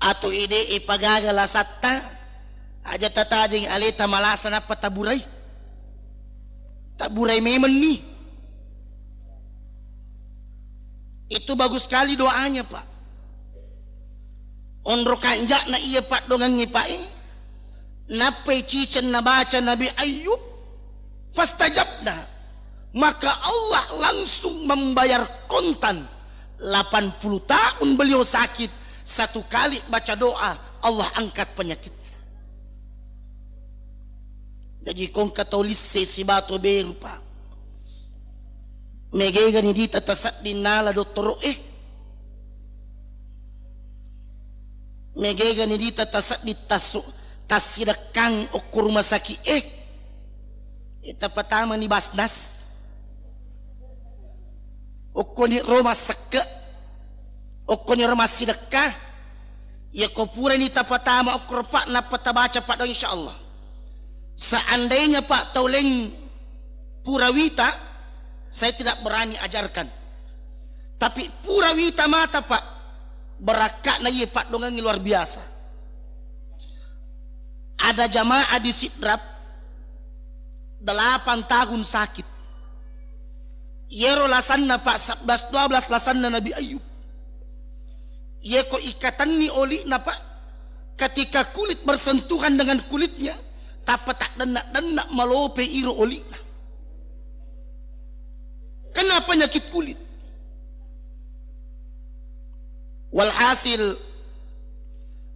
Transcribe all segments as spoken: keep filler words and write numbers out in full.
Atau ede e pagaga lasatta, aja tatajeng aleta malasa nappa taburai. Taburai memenni. Itu bagus sekali doanya, Pak. Onro kanja'na iya paddongengnge, Pak, e. Nappai ciceng nabaca Nabi Ayub, fastajabna. Maka Allah langsung membayar kontan. Lapan puluh tahun beliau sakit, satu kali baca doa, Allah angkat penyakitnya. Jaji kongka tau lisse sibawa tau beru, Pak. Megegani dita tasedding nala dottoro e. Megegani dita tasedding tasu-, tassidekkang okko rumah sakit e. E, tapatamani Basnas. Okkoni ro massekke, okkoni ro massidekka, yako purani tapatama okko ro, Pak, nappa tabaca, Pak, doang, insya Allah. Seandainya, Pak, tauleng pura wita, saya tidak berani ajarkan. Tapi pura wita mata, Pak, berakka'na iye paddongengngi luar biasa. Ada jamaah di Sidrap, delapan tahun sakit. Yero lasanna, Pak, sebelas dua belas lasanna Nabi Ayub. Yeko ikatenni oli'na, Pak, ketika kulit bersentuhan dengan kulitnya, tappa taddenna-denna malope iro oli'na. Kena penyakit kulit. Walhasil,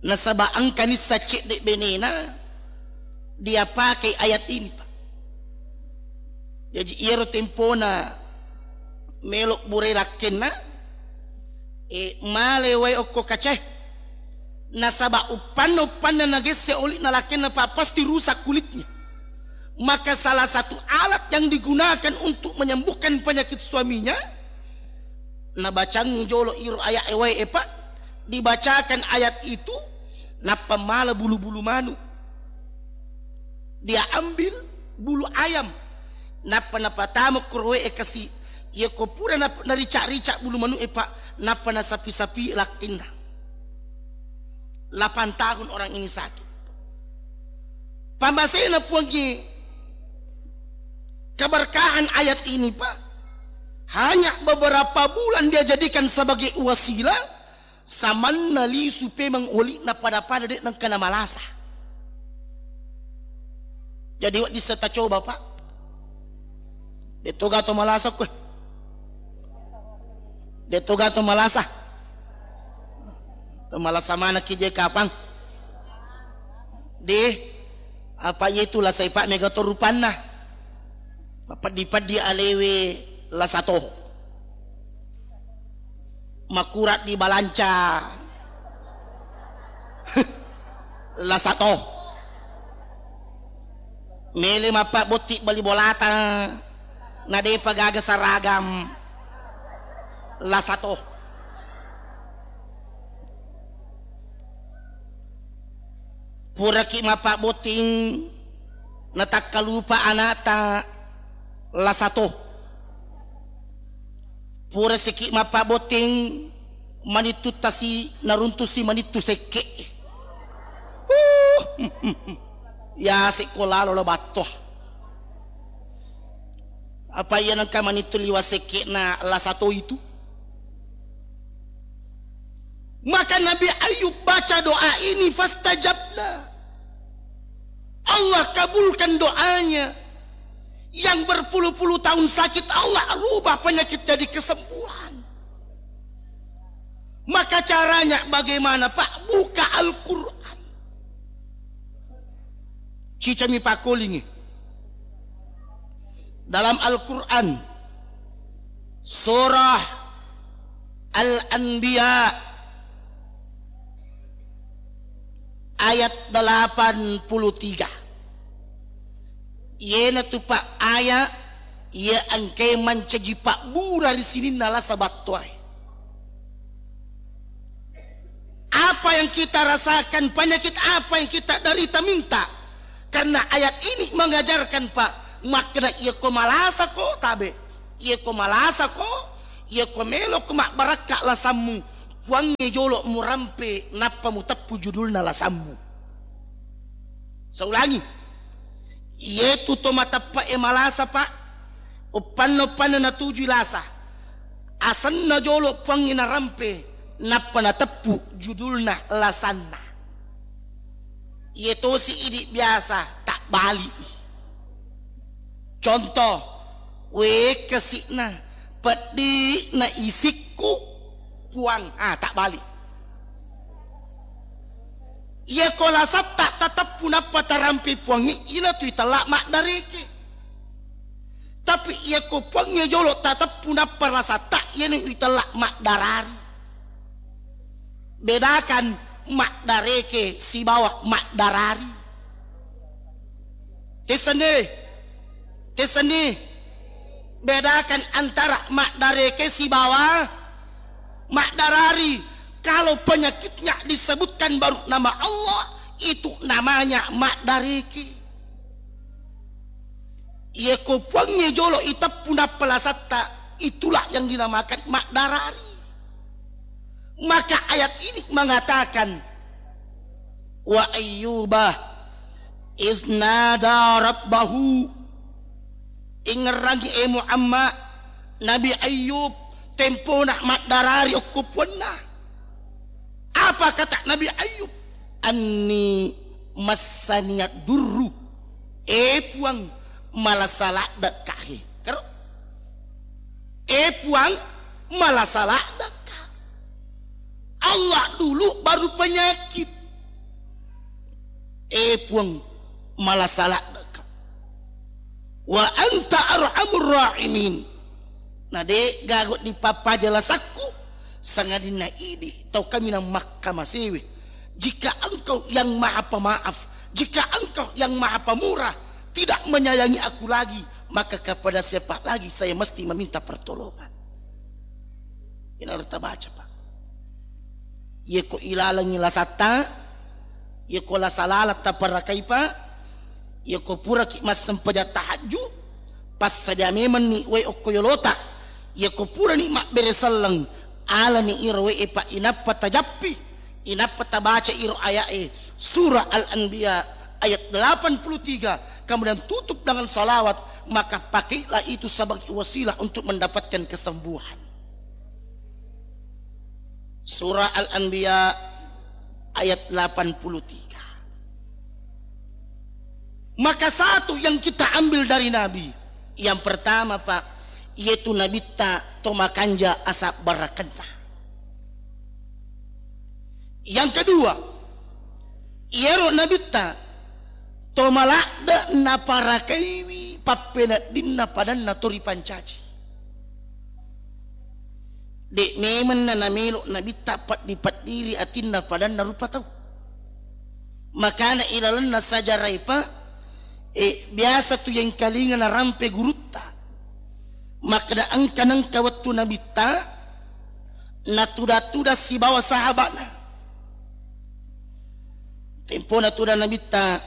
nasaba engka nissa cedde benena, dia pakai ayat ini, Pak. Jaji, iyaro tempona melo burai lakkenna, e, male wae okko kacae. Nasaba uppanna-uppanna nagesse oli'na lakkenna, Pak, pasti rusak kulitnya. Maka salah satu alat yang digunakan untuk menyembuhkan penyakit suaminya, nabacangngi jolo iro ayat e wae, Pak, dibacakan ayat itu, nappa mala bulu-bulu manu. Dia ambil bulu ayam, nappa napatama koroe e kasi. Yako pura nap-, narica-rica bulu manu e, Pak, nappa nasapi-sapi lakkenna. Lapan tahun orang ini sakit. Pamasena Puangnge, keberkahan ayat ini, Pak, hanya beberapa bulan dia jadikan sebagai wasilah, samanna lisu pemeng oli'na pada-pada de' nengka namalasa. Jadi, wedding seta coba, Pak. De' to gaga to malasa koe. De' to gaga to malasa. To malasa manekki je kapang. De', apa iye tu lasai, Pak, mega to rupanna. Mapeddi-peddi alewe lasa to. Makurat di balanca. Lasa to. Mele mappabbotting bali bolata, na de'pa gaga saragam. Lasa to. Puraki mappabbotting, natakkalupa ana'ta, lasa to. Pura siki mappabbotting, manittu tasi, naruntusi manittu sekke. Uh, yase ko lalo lo battoa. Apa iya nengka manittu liwa sekke'na lasa to itu? Maka Nabi Ayub baca doa ini, fastajabna. Allah kabulkan doanya. Yang berpuluh-puluh tahun sakit, Allah rubah penyakit jadi kesembuhan. Maka caranya bagaimana, Pak? Buka Al-Quran. Cicami pakkolingngi. Dalam Al-Quran, surah Al-Anbiya, ayat delapan puluh tiga. Iyanatu, Pak, ayat iya engkae mancaji pabbura ri sininna lasa battoae. Apa yang kita rasakan, penyakit apa yang kita derita, minta. Karena ayat ini mengajarkan, Pak, makna iya ko malasa ko tabe, iya ko malasa ko, iya ko melo ko mabbarakka lasammu, Puangnge jolo murampe nappa muteppu judulna lasammu. Saulangi, iyetu to mateppe'e malasa, Pak, uppanna-uppanna natujui lasa, asenna jolo Puangnge narampe nappa nateppu judulna lasanna. Iye tosi idi biasa tabbali'i. Contoh, wekasi'na, peddi'na isikku, Puang. Ah, tabbali. Iya ko lasatta tateppu nappa tarampe Puangnge, ina tu itella maddareke. Tapi iya ko Puangnge jolo tateppu nappa lasatta, iyana itella maddarari. Bedakan maddareke sibawa maddarari. Tessenni, tessenni. Bedakan antara maddareke sibawa maddarari. Kalau penyakitnya disebutkan baru nama Allah, itu namanya maddareke. Iya ko Puangnge jolo iteppu nappa lasatta, itulah yang dinamakan maddarari. Maka ayat ini mengatakan, "Wa Ayyuba iznada rabbahu." Ingerrangi, eh Muhammad, Nabi Ayyub tempona maddarari okko Puanna. Apa kata Nabi Ayyub? "Anni massaniyad durru." Eh Puang, malasa laddekka he. Karo? Eh Puang, malasa laddekka. Allah dulu baru penyakit. Eh Puang, malasa laddekka. Wa anta arhamur rahimin. Na de gaga dipappaja lasakku, sangadinna idi tau kaminang makkamasewe. Jika Engkau yang Maha Pemaaf, jika Engkau yang Maha Pemurah tidak menyayangi aku lagi, maka kepada siapa lagi saya mesti meminta pertolongan? Ina harus tabaca, Pak. Iya ko ilalengi lasatta, iya ko lasa laleng taparakai, Pak, iya ko puraki massempajang tahajju, passadia memenni wae okko yolota, iya ko purani mabbere selleng, alani iro wae, Pak, inappa tajappi, inappa tabaca iro aya'e, surah Al-Anbiya ayat delapan puluh tiga, kemudian tutup dengan salawat, maka pakailah itu sebagai wasilah untuk mendapatkan kesembuhan. Surah Al-Anbiya ayat delapan puluh tiga. Maka satu yang kita ambil dari Nabi, yang pertama, Pak, yaitu Nabitta to makanja asabbarakenna. Yang kedua, iyaro Nabitta to maladde naparakaiwi pappeneddinna padanna to ripancaji. De memeng na namelo Nabitta peddi-peddiri atinna padanna rupa tau. Makana ilalenna sajarae, Pak, eh, biasa tu yengkalinga narampe gurutta. Makkeda engka nengka wettu Nabitta natuda-tuda sibawa sahaba'na. Tempona tuda Nabitta,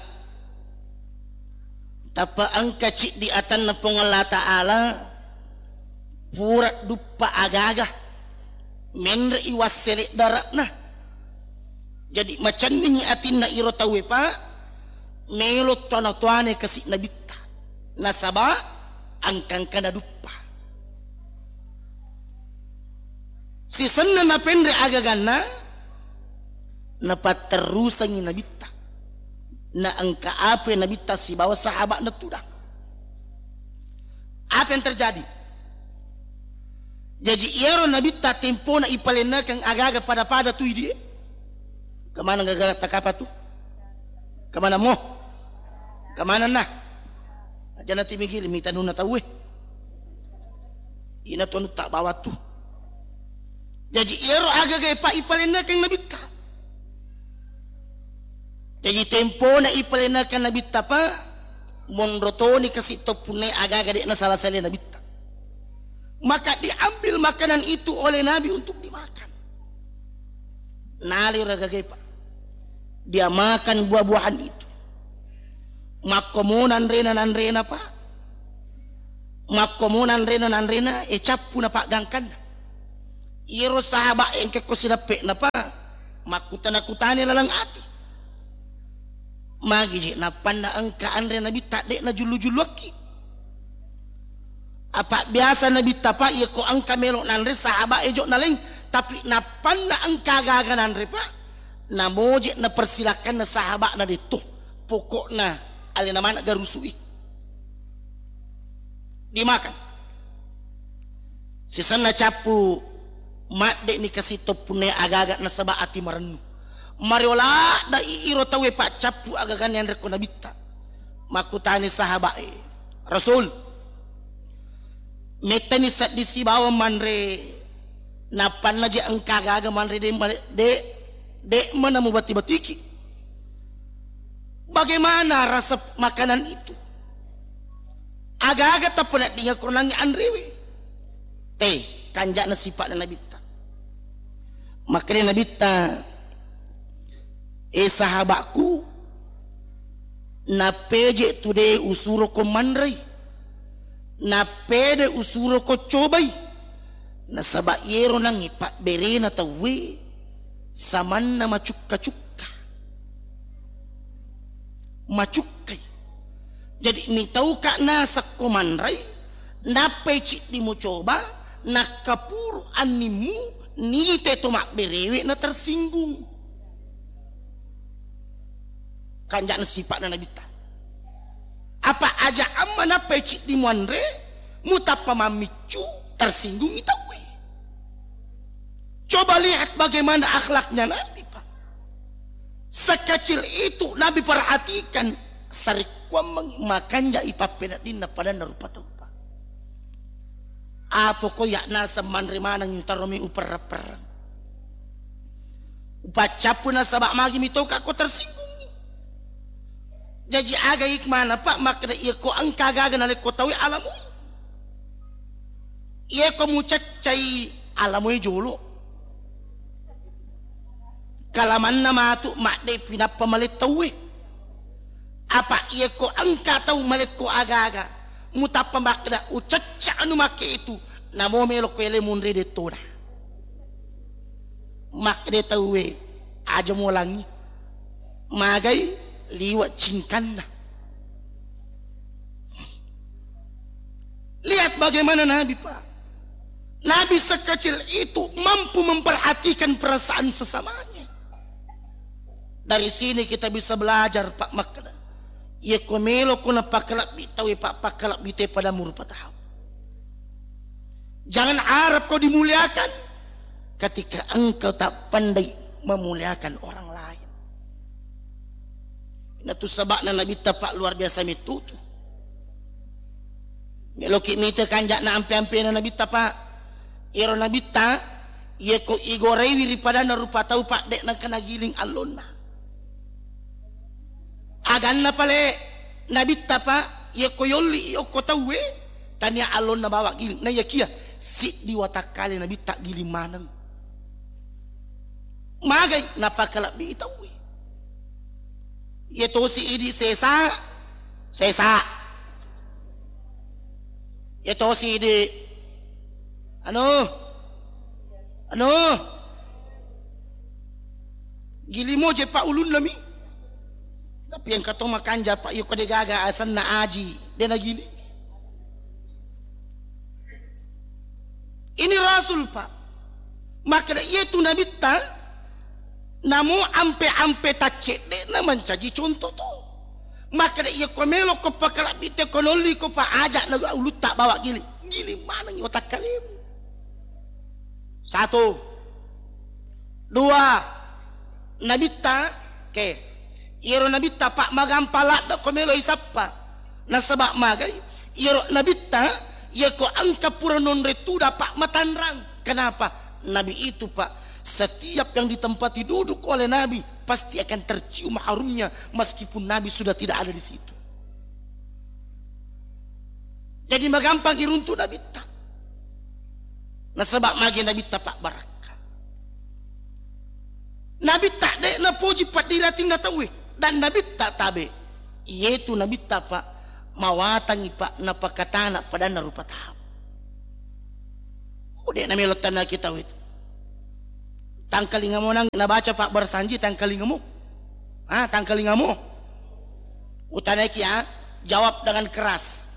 tappa engka ciddi atanna Puang Allah Ta'ala, pura duppa agaga, menre'i wassele dare'na. Jadi macenningi atinna iro tauwe, Pak, melo toana-toane kasi Nabitta. Nasaba engka-engkana duppa. Sisenna napenre agaganna, napatterusangi Nabitta. Na engka ape Nabitta sibawa sahaba'na tudang. Apa yang terjadi? Jaji iyaro Nabitta tempona ipalennakeng agaga pada-pada tu idi. Kemana gaga takapa tu? Kemana mo? Kemana nah? Aja nanti mikir mitanuna tauwe. Ina tu anu tak bawa tu. Jaji iyaro agaga, Pak, ipalennakeng Nabitta. Jaji tempona ipalennakeng Nabitta, Pak, monro toni kasi to punne agaga de'na sala-sala Nabitta. Maka diambil makanan itu oleh Nabi untuk dimakan. Naliro agaga, Pak. Dia makan buah-buahan itu. Makkomo nanrena nanrena, Pak. Makkomo nanrena nanrena, e cappu na paggangkanna. Iyaro sahabat engka ko sinappe'na, Pak, makkutana-kutani laleng ati. Magi je nappanna engka anre Nabitta de' najullu-julluakki. Apa biasa Nabitta, Pak, iya ko engka melo nanre sahabat e jo naleng, tapi nappanna engka gaga nanre, Pak, namoje napersilakanna sahabatna detto. Pokokna alena mana garusui. Dimakan. Sisenna cappu madde'ni kasi toppunna aga-aga nasaba ati marennu. Mario ladda i iro tauwe paccappu aga-aga ni anre ko Nabitta. Makkutani sahabat e, "Rasul, mettani seddi sibawa manre, nappanna je engka aga-aga manre de, de, de mana mubati-batiki. Bagaimana rasa makanan itu? Aga-aga tappa naddinga kuranangi anrewe?" Te, kanja'na sipa'na Nabitta. Makkeda Nabitta, "E sahabatku, napeje tu de usuro ko manrei, napede usuro ko cobai, nasaba yero nangi pabberena tauwe samanna macukka-cukka." Macukkai. Jadi mitauka nasakko manrai, nappai ciddi mucoba, nakkapuru annimmu, nite to mabberewe na tersinggung. Kanja'na sipa'na Nabitta. Apa aja amma nappai ciddi muanre, mutappa mammiccu, tersinggungi tauwe. Coba lihat bagaimana akhlaknya Nabi, Pak. Sekecil itu Nabi perhatikan, sarekkuammengi makanja ipappeneddinna padanna rupa tau, Pak. Apo ko ya naseng manre maneng yutaromi uperreng-perreng. Upaccappu nasaba magi mitoka ko tersinggungi. Jaji aga hikmana, Pak, makkeda iya ko engka gaga nalekko tauwe alamoi. Iya ko mucaccai alamoi jolo. Kalamanna matu madde pinappa male tauwe. Apa iya ko engka tau malekko aga-aga, mutappa makkeda ucacca anu makke itu, namo melo ko ele munre dettona. Makkeda tauwe, aja molangi. Magai liwa cingkanna. Lihat bagaimana Nabi, Pak. Nabi sekecil itu mampu memperhatikan perasaan sesamanya. Dari sini kita bisa belajar, Pak, makkeda, iya ko melo ko napakalebbi tauwe, Pak, pakalebbi te pada murupa tahu. Jangan harap kau dimuliakan ketika engkau tak pandai memuliakan orang lain. Natu sabakna Nabitta, Pak, luar biasa mettutu. Meloki mita kanja'na ampe-ampena Nabitta, Pak. Iyaro Nabitta, iya ko igoraiwi ri padanna rupa tau, Pak, de' nengka nagiling allonna. Aganna pale Nabitta, Pak, iya ko yolli i okko tauwe, tania allonna bawa giling. Na iyakia siddi watakkale Nabitta giling maneng. Magai napakalebbi tauwe. Iya tosi idi sesa, sesa. Iya tosi idi anu, anu. Gilimo je pa ulunna mi. Tapi engka to makanja, Pak, iya ko de gaga asenna aji, de nagili. Ini Rasul, Pak. Makkeda iya tu Nabitta, namo ampe-ampe taccedde'na mancaji contoh to. Makkeda iya ko melo ko pakalabbi te ko nolli ko pa aja na ulutta bawa gili. Gili maneng watakkalemu. Satu. Dua. Nabitta, ke. Iyaro Nabitta, Pak, magampang ladde ko melo isappa. Nasaba magai, iyaro Nabitta, iya ko engka pura nonre tuda, Pak, matanrang. Kenapa? Nabi itu, Pak, setiap yang ditempati duduk oleh Nabi, pasti akan tercium harumnya meskipun Nabi sudah tidak ada di situ. Jadi magampang iruntu Nabitta. Nasaba magi Nabitta pabbarakka. Nabitta de napoji paddiri atinna tauwe. Dan Nabitta tabe. Iyetu Nabitta, Pak, mawatangi, Pak, napakatana padanna rupa tau. Oh, de namelo tanna kita itu. Tangkalingamu nang nabaca Pak Barsanji, tangkalingamu. Ah, tangkalingamu. Utanaiki ya, jawab dengan keras.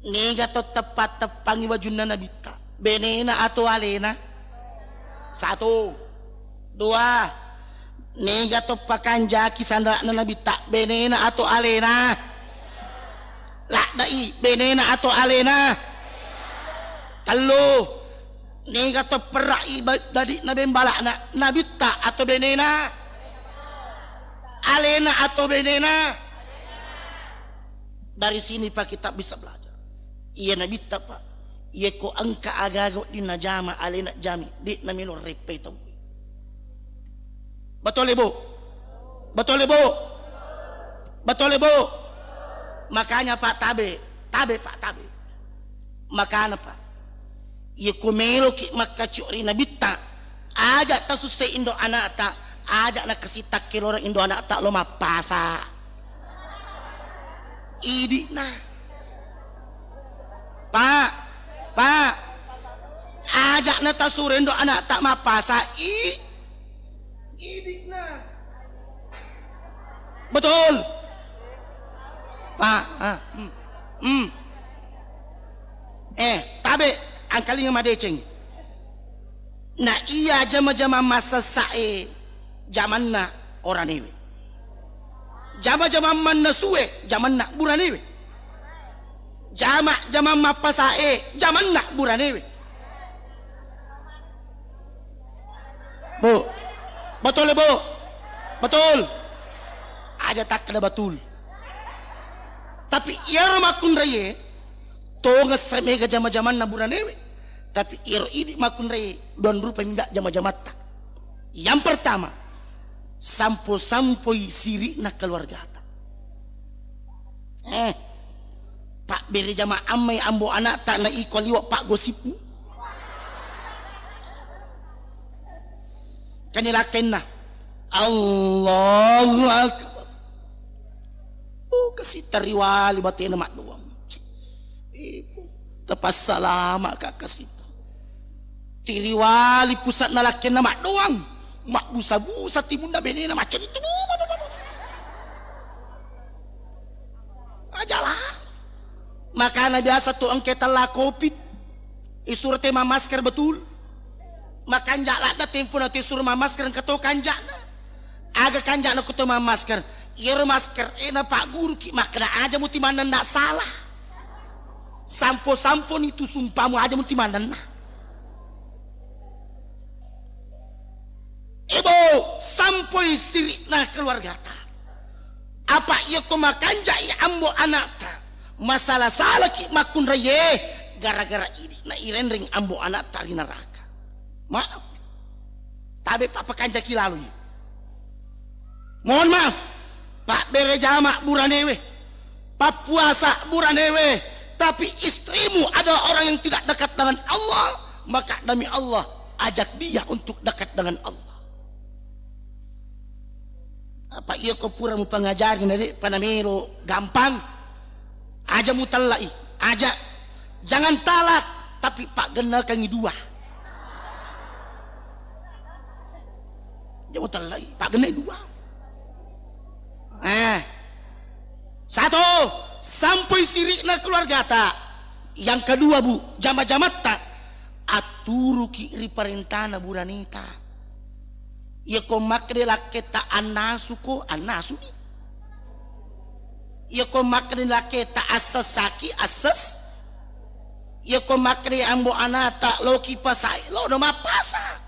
Nega to teppa-teppangi wajunna Nabitta? Benena atau alena? Satu. Dua. Nega to pakanjaki sandra'na Nabitta? Benena atau alena? Ladda'i, benena atau alena? Tellu. Nega to perra'i ba-, dadi'na bembala'na? Nabitta atau benena? Alena atau benena? Dari sini, Pak, kita bisa belajar. Iya Nabitta, Pak. Iya ko engka aga-aga wedding najama, alena jami, de'na melo reppai tauwe. Betul, Ibu? Betul, Ibu? Betul, Ibu? Makanya, Pak, tabe, tabe, Pak, tabe. Makana, Pak, iya ko meloki makkacio ri Nabitta, aja tasussai indo anakta, aja nakasitta keloreng indo anakta lo mappasa. Idi'na. Pak, Pak, aja natasuro indo anakta mappasa. I, idi'na. Betul. Pak, ah, hmm, hmm. Eh, tabe, angkalinga madeceng. Na iya jama-jama massassae jamanna oranewe. Jama-jama mannasue jamanna buranewe. Jama-jama mappasae jamanna buranewe. Bu. Betul, Bu? Betul. Aja takkeda betul. Tapi iyaro makkunraie, tongessa mega jama-jamanna buranewe. Tapi iyaro idi makkunraie, dua rupa minda jama-jamatta. Yang pertama, sampo-sampoi siri'na keluargata. Eh, pabbere jama ammai ambo anakta na iko liwa paggosipmu. Kani lakkenna, Allahu Akbar. Oh, kasi tariwali batena maddoang. Ibu, tapassalama ka kasi. Tiriwali pusatna lakkenna maddoang. Mabbusa-busa timunna benena macca itu. Ajalah. Makana biasa tu engke tella covid. Isuro te mamasker betul. Makanja ladda tempo na tu isuro mamasker engka to kanjana. Aga kanjana ko to mamasker. Iyaro masker e na Pak Guru ki makkeda aja muti manenna salah. Sampo-sampo ni tu sumpamu aja muti manenna. Ibu, sampoi siri'na keluargata. Apa iya ko makanjai ambo anakta, masala-salaki makkunraie, gara-gara idi na irenreng ambo anakta ri neraka. Maaf. Tabe pappakanjaki laloi. Mohon maaf, pabbere jama buranewe, pappuasa buranewe, tapi istrimu adalah orang yang tidak dekat dengan Allah, maka demi Allah, ajak dia untuk dekat dengan Allah. Apa iya ko pura mupangajari na de'pa namelo gampang? Aja mutellai, aja. Jangan talak, tapi paggennakangi dua. Aja mutellai, paggenna dua. Eh, satu, sampoi siri'na keluargata. Yang kedua, Bu, jama-jamatta, atturuki ri parentana buraneta. Iya ko makkeda lakketta annasuko, annasuni. Iya ko makkeda lakketta assessaki, assess. Iya ko makkeda ambo anata loki pasai, lo no mappasa.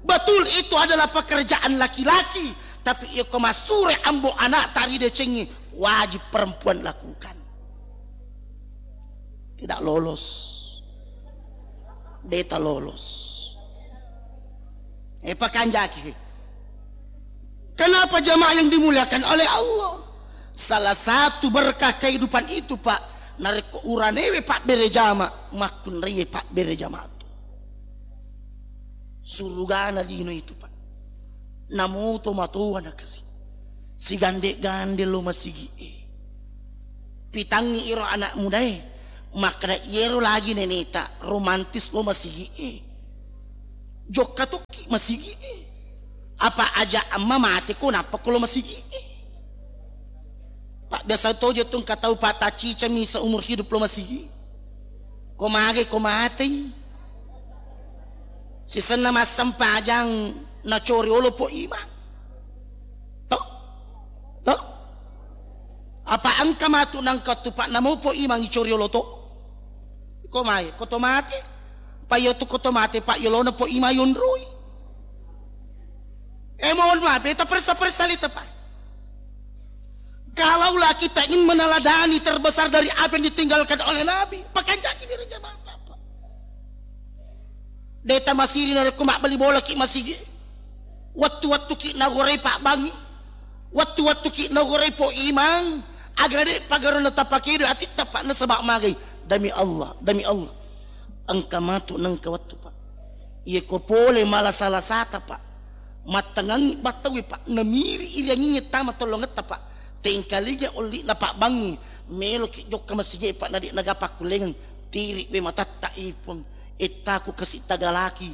Betul, itu adalah pekerjaan laki-laki, tapi iya ko massure ambo anata ridecengi, wajib perempuan lakukan. Tidak lolos. Deta lolos. Eh, pakanjaki. Kenapa jamaah yang dimuliakan oleh Allah? Salah satu berkah kehidupan itu, Pak, narekko uranewe pabbere jama, makkunraie pabbere jama tu. Surugana lino itu, Pak. Namoto matoa nakasi. Sigande-gande lo masigi'e. Pitangngi iro anak mudae. Makkeda iyero lagi neneta romantis lo masigi'e. Jokka tokki masigi e. Apa aja amma mate ko nappa ko lo masigi e. Pak, biasa tojo tu engka tau, Pak, taccicami seumur hidup lo masigi. Ko mage ko matei. Sisenna massempajang nacori olo po imang. To? To? Apa engka matu nangka tu, Pak, namo po imang icori olo to? Ko mae, ko to mate. Pa iyo tu ko to mate, Pak, yolona po imang yonroi. Eh, mohon maaf, beta persa-persa lita, Pak. Kalaulah kita ingin meneladani terbesar dari apa yang ditinggalkan oleh Nabi, pakanjaki bira jamaah, Pak. Deta masiri narekko mabbali bola ki masigi. Wettu-wettu ki nagorai pabbangi. Wettu-wettu ki nagorai po imang. Aga de pagarona tapakedo atitta, Pak, nasaba magai. Demi Allah, demi Allah. Engka matu nengka wettu, Pak. Iye ko pole mala salasata, Pak. Mattangangi battawe, Pak. Namiri irianginge tama tolongetta, Pak. Tengkalinga olli na pabbangi. Meloki jokka masigi, Pak, nadi naga pakkulengeng. Tiri we matatta ipun. Ettaku kasi tagalaki.